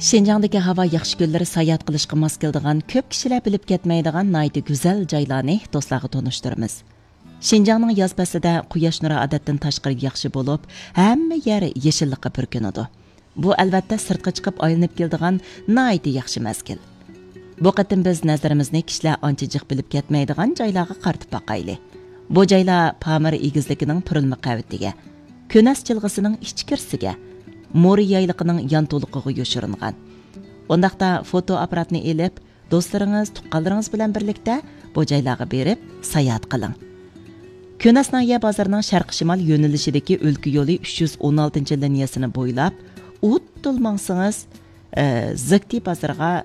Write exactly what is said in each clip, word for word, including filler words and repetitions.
شىنجاڭدىكى ھاۋا ياخشى كۈنلىرى ساياھەت قىلىشقا ماس كېلىدىغان، كۆپ كىشىلەر بىلىپ كەتمەيدىغان ناھايىتى گۈزەل جايلارنى دوستلارغا تونۇشتۇرىمىز. شىنجاڭنىڭ ياز پەسلىدە قۇياش نۇرى ئادەتتىن تاشقىرى ياخشى بولۇپ، ھەممە يەر يېشىللىققا پۈركىنىدۇ. بۇ، ئەلۋەتتە، سىرتقا چىقىپ ئايلىنىپ كېلىدىغان ناھايىتى ياخشى مەزگىل. بۇ قېتىم بىز نەزىرىمىزنى كىشىلەر ئانچە جىق بىلىپ كەتمەيدىغان جايلارغا قارىتىپ باقايلى. بۇ جايلار پامىر ئېگىزلىكىنىڭ پۈرۈلمە قەۋىتىگە، كۆنەس جىلغىسىنىڭ ئىچكىرىسىگە، مورا يايلىقىنىڭ يانتۇلۇقىغا يوشۇرۇنغان. ئۇنداقتا فوتو ئاپپاراتنى ئېلىپ، دوستلىرىڭىز، تۇغقانلىرىڭىز بىلەن بىرلىكتە بۇ جايلارغا بېرىپ ساياھەت قىلىڭ. كۆنەس ناھىيە بازىرىنىڭ شەرقىي شىمال يۆنىلىشىدىكى ئۆلكە يولى ئۈچ يۈز ئون ئالتىنچى لىنىيەسىنى بويلاپ ئۇدۇل ماڭسىڭىز، ئە، زېكتى بازىرىغا،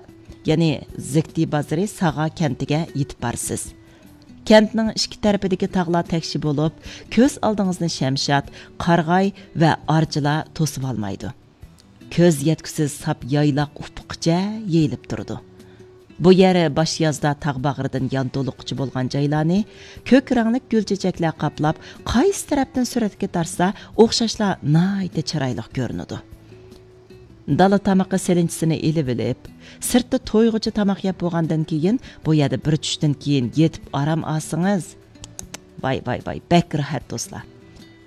يەنى زېكتى بازىرى ساغا كەنتىگە يېتىپ بارىسىز. كەنتنىڭ ئىككى تەرىپىدىكى تاغلار تەكشى بولۇپ، كۆز ئالدىڭىزنى شەمشاد، قارىغاي ۋە ئارچىلار توسۇۋالمايدۇ. كۆز يەتكۈسىز ساپ يايلاق ئۇپۇققىچە يېيىلىپ تۇرىدۇ. بۇ يەر باش يازدا تاغ باغرىدىن يانتۇلۇققىچە بولغان جايلارنى كۆك رەڭلىك گۈل چېچەكلەر قاپلاپ، قايسى تەرەپتىن سۈرەتكە تارتسا ئوخشاشلا ناھايىتى چىرايلىق كۆرۈنىدۇ. دالا تامىقى سېلىنچىسىنى ئېلىۋېلىپ، سىرتتا تويغۇچە تاماق يەپ بولغاندىن كېيىن، بۇ يەردە بىر چۈشتىن كېيىن يېتىپ ئارام ئالسىڭىز، ۋاي، ۋاي، ۋاي، بەك راھەت، دوستلار.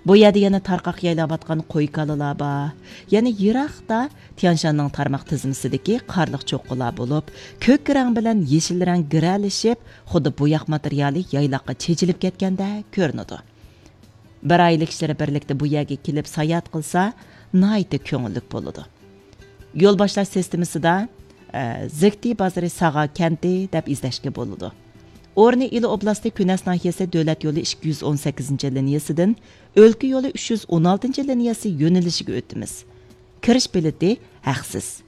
بۇ يەردە يەنە تارقاق يايلاۋاتقان قوي-كالىلار بار. يەنە يىراقتا تيانشاننىڭ تارماق تىزمىسىدىكى قارلىق چوققىلار بولۇپ، كۆك رەڭ بىلەن يېشىل رەڭ گىرەلىشىپ، خۇددى بوياق ماتېرىيالى يايلاققا چېچىلىپ كەتكەندەك كۆرۈنىدۇ. بىر ئائىلە كىشىلىرى بىرلىكتە بۇ يەرگە كېلىپ ساياھەت قىلسا، ناھايىتى كۆڭۈللۈك بولىدۇ. يول باشلاش سىستېمىسىدا، ئە، زېكتى بازىرى ساغا كەنتى دەپ ئىزدەشكە بولىدۇ. ئورنى ئىلى ئوبلاستى كۈنەس ناھىيەسى دۆلەت يولى ئىككى يۈز ئون سەككىزىنچى لىنىيەسىدىن ئۆلكە يولى ئۈچ يۈز ئون ئالتىنچى لىنىيەسى يۆنىلىشىگە ئۆتىمىز. كىرىش بېلىتى ھەقسىز.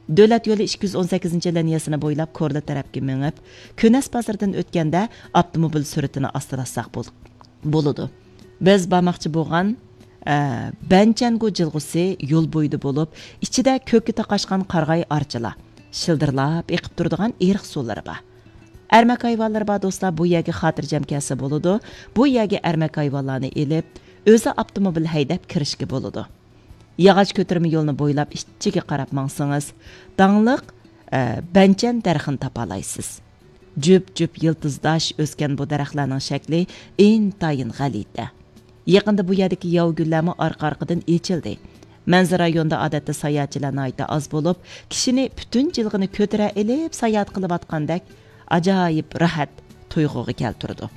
دۆلەت يولى ئىككى يۈز ئون سەككىزىنچى لىنىيەسىنى بويلاپ كورلا تەرەپكە مېڭىپ، كۈنەس بازىرىدىن ئۆتكەندە ئاپتوموبىل سۈرئىتىنى ئاستىلاتساق بول-، بولىدۇ. بىز بارماقچى بولغان، ئە، بەنچەنگۇ جىلغىسى يول بويىدا بولۇپ، ئىچىدە كۆككە تاقاشقان قارىغاي ئارچىلار، شىلدىرلاپ ئېقىپ تۇرىدىغان ئېرىق سۇلىرى بار. ئەرمەك ھايۋانلىرى بار دوستلار بۇ يەرگە خاتىرجەم كەلسە بولىدۇ. بۇ يەرگە ئەرمەك ھايۋانلارنى ئېلىپ، ئۆزى ئاپتوموبىل ھەيدەپ كىرىشكە بولىدۇ. ياغاچ كۆتۈرمە يولنى بويلاپ ئىچىگە قاراپ ماڭسىڭىز، داڭلىق، ئە، بەنچەن دەرىخىنى تاپالايسىز. جۈپ-جۈپ يىلتىزداش ئۆسكەن بۇ دەرەخلەرنىڭ شەكلى ئىنتايىن غەلىتە. يېقىندا بۇ يەردىكى ياۋا گۈللەرمۇ ئارقا-ئارقىدىن ئېچىلدى. مەنزىرە رايونىدا ئادەتتە ساياھەتچىلەر ناھايىتى ئاز بولۇپ، كىشىنى پۈتۈن جىلغىنى كۆتۈرە ئېلىپ ساياھەت قىلىۋاتقاندەك ئاجايىپ راھەت تۇيغۇغا كەلتۈرىدۇ.